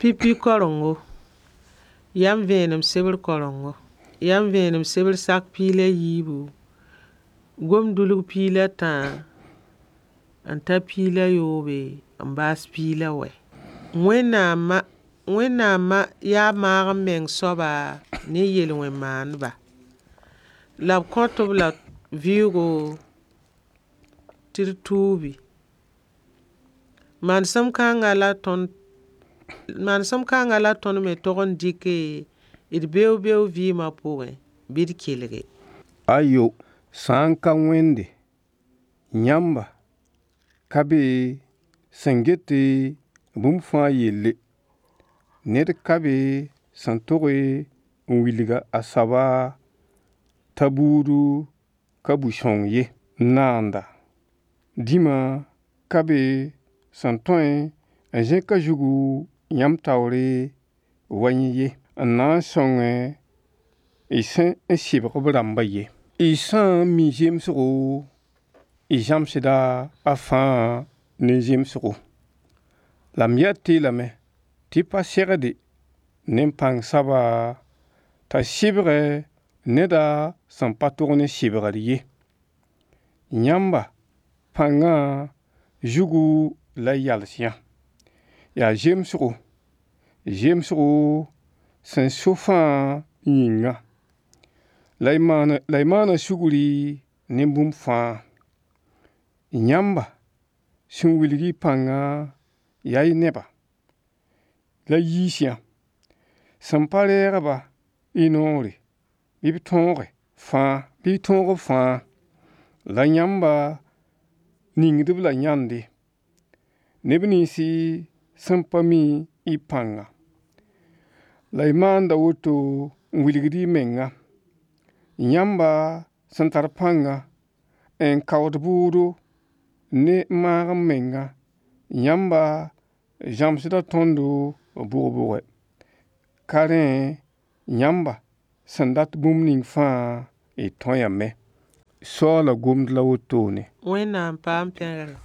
Pipi karengo, yam vẽenem sebr karengo, yam vẽenem sebr sak pia la yiibu, gomdulg pia la tã n ta pia la yoobe n baas pia la wɛ. Wẽnnaam yaa maag m meng soaba ne yel-wẽn-maaneba. La b kõt b la vɩʋʋgo tɩ d tuubi. Manesem kãnga la tõnd me tog n dɩke d beoog-beoog vɩɩma pʋgẽ bɩ d kelge. Ayo, sã n ka Wẽnde, yãmba ka be sẽn get bũmb fãa yelle. Ned ka be sẽn tog n wilg a soaba t'a buud ka bu-sõng ye. Naanda, dĩma ka be sẽn tõe n zẽk a zugu yãmb taoore wa yẽ ye, n na n sõng y sẽ n sɩbg b rãmbã ye. Y sã n mi zemsgo, y zãmsda a fãa ne zemsgo. La m yet-y lame tɩ pa segde ne pãng soaba t'a sɩbg neda sẽn pa tog ne sɩbgr ye. Yãmba pãngã zugu la y yals yã. Yaa zemsgo sẽn so fãa yĩnga. La y maana sugri ne bũmb fãa. Yãmba sẽn wilg y pãngã yaa y neba la y yiis yã. Sẽn pa reeg-ba y noore bɩ b tõoge fãa, bɩ y tõog b fãa. La yãmba ningd-b la yãnde. Neb ninsi sẽn pa mi y pãnga. La y maanda woto n wilgd y menga. Yãmba sẽn tar pãnga n kaood bʋʋdo ne maag m menga, yãmba zãmsda tõndo bʋg-bʋgɛ. Ka rẽ yãmba sẽn dat bũmb ning fãa y tõeame. Soaala gomd la wotone. Wẽnnaam paam pẽgre.